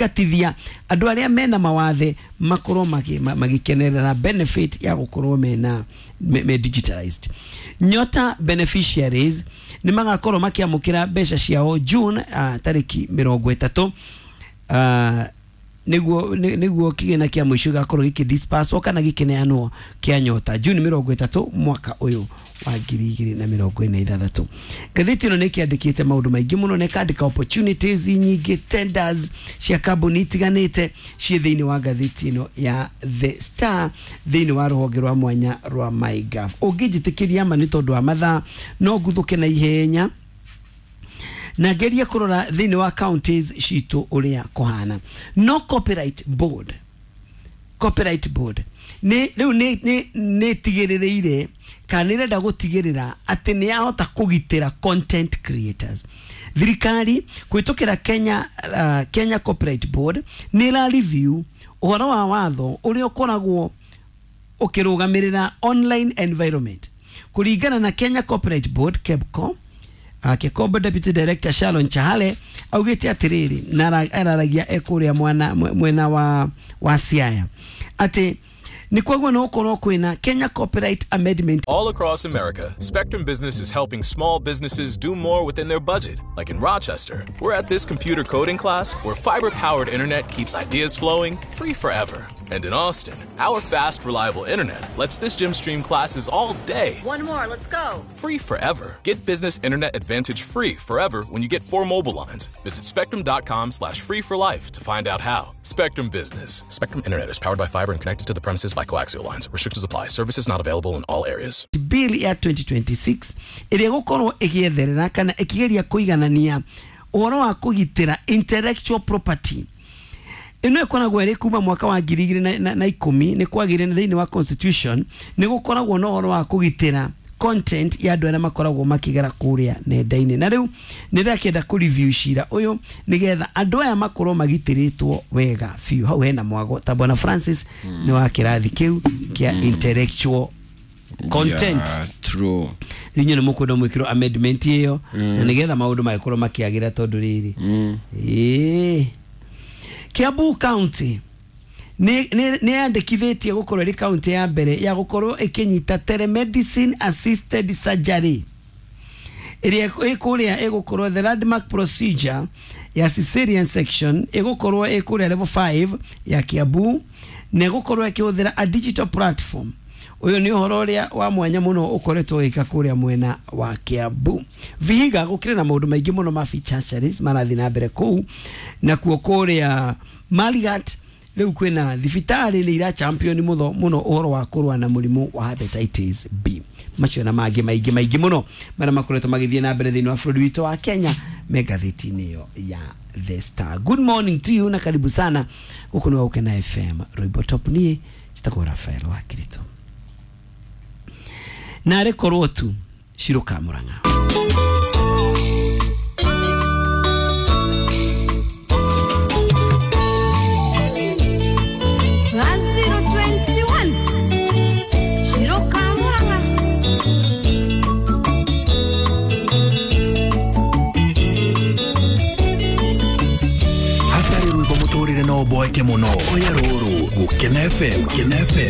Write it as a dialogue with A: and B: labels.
A: Gatithia andũ arĩa mena mawathe makorwo magikenerera benefit ya gũkorwo mena me digitalized. Nyota beneficiaries nĩ magakorwo makĩamũkĩra mbeca ciao June tarĩki 30, nĩguo kĩgĩna kĩa mũico gĩgakorwo gĩkĩ disperse kana gĩkĩneanwo kĩa Nyota June 30 mwaka ũyũ wa 2026. Ngathĩti ĩno nĩ ĩkĩandĩkĩte maũndũ maingĩ mũno na ĩkandĩka opportunities nyingĩ, tenders cia kambuni itiganĩte ciĩ thĩinĩ wa ngathĩti ĩno ya The Star thĩinĩ wa rũhonge rwa mwanya rwa MyGov. Ũngĩnjĩtĩkĩria ma nĩ tondũ wa mathaa no nguthũke na ihenya na ngerie kũrora thĩinĩ wa counties citũ ũrĩa kũhana. No Copyright Board, Copyright Board nĩ rĩu nĩ tigĩrĩrĩire kana nĩ ĩrenda gũtigĩrĩra atĩ nĩ yahota kũgitĩra content creators. Thirikari kũhĩtũkĩra Kenya Copyright Board nĩ ĩra review ũhoro wa watho ũrĩa ũkoragwo ũkĩrũgamĩrĩra online environment. Kũringana na Kenya Copyright Board KEBCO, Kekobo Deputy Director Sharon Chahale augĩte atĩrĩrĩ, na araragia ekũrĩa mwena wa Siaya atĩ nĩ koguo no gũkorwo kwĩna Kenya Copyright Amendment.
B: All across America, Spectrum Business is helping small businesses do more within their budget. Like in Rochester, we're at this computer coding class where fiber-powered internet keeps ideas flowing free forever. And in Austin, our fast, reliable internet lets this gym stream classes all day.
C: One more, let's go.
B: Free forever. Get business internet advantage free forever when you get 4 mobile lines. Visit spectrum.com/free for life to find out how. Spectrum Business. Spectrum Internet is powered by fiber and connected to the premises by coaxial lines. Restrictions apply. Services not available in all areas.
A: Bill ya 2026 ĩrĩa ĩgũkorwo ĩgĩetherera kana ĩkĩgeria kũiganania ũhoro wa kũgitĩra intellectual property. Ĩno ĩkoragwo ĩrĩ kuma mwaka wa 2010 nĩ kwagĩrĩire thĩinĩ wa constitution nĩ gũkoragwo na ũhoro wa kũgitĩra content ya andũ arĩa makoragwo makĩgera kũrĩa nenda-inĩ. Na rĩu nĩ ndakĩenda kũ review cira ũyũ nĩgetha andũ aya makorwo magitĩrĩtwo wega biũ. Hau hena mwago ta Bwana Francis nĩ wa kĩrathi kĩu kĩa intellectual content.
D: Yeah, true.
A: Rĩu inyuĩ nĩ mũkwenda mwĩkĩrwo amendment ĩyo na nĩgetha maũndũ magĩkorwo makĩagĩra tondũ rĩrĩ ĩĩ Kiambu County nĩ yandĩkithĩtie gũkorwo ĩrĩ county ya mbere ya gũkorwo ĩkĩnyita telemedicine assisted surgery ĩrĩa ĩkũrĩa ĩgũkorwo the landmark procedure ya cesarean section ĩgũkorwo ĩkũrĩa level 5 ya Kiambu na ĩgũkorwo ĩkĩhũthĩra a digital platform. Ũyũ nĩ ũhoro ũrĩa wa mwanya mũno ũkoretwo ũgĩka kũrĩa mwena wa Kiambu. Vihiga gũkĩrĩ na maũndũ maingĩ mũno ma features marathiĩ na mbere kũu, nakuo kũrĩa Marigat rĩu kwĩna thibitarĩ nĩ ira champion mũno mũno ũhoro wa kũrũa na mũrimũ wa hepatitis B. Macio na mangĩ maingĩ maingĩ mũno marĩa makoretwo magĩthiĩ na mbere thĩinĩ wa bũrũri witũ wa Kenya me ngathĩti-inĩ ĩyo ya The Star. Good morning to you na karibu sana gũkũ nĩ Gũkena FM Rwĩmbo Top. Niĩ njĩtagwo Rafael wa Kirito. Narĩ korwo tu Shiruka Murang'a.
E: Hatarĩ rwĩmbo mũtũrĩre no mboeke mũno. Oya rũrũ Gũkena FM, Gũkena FM.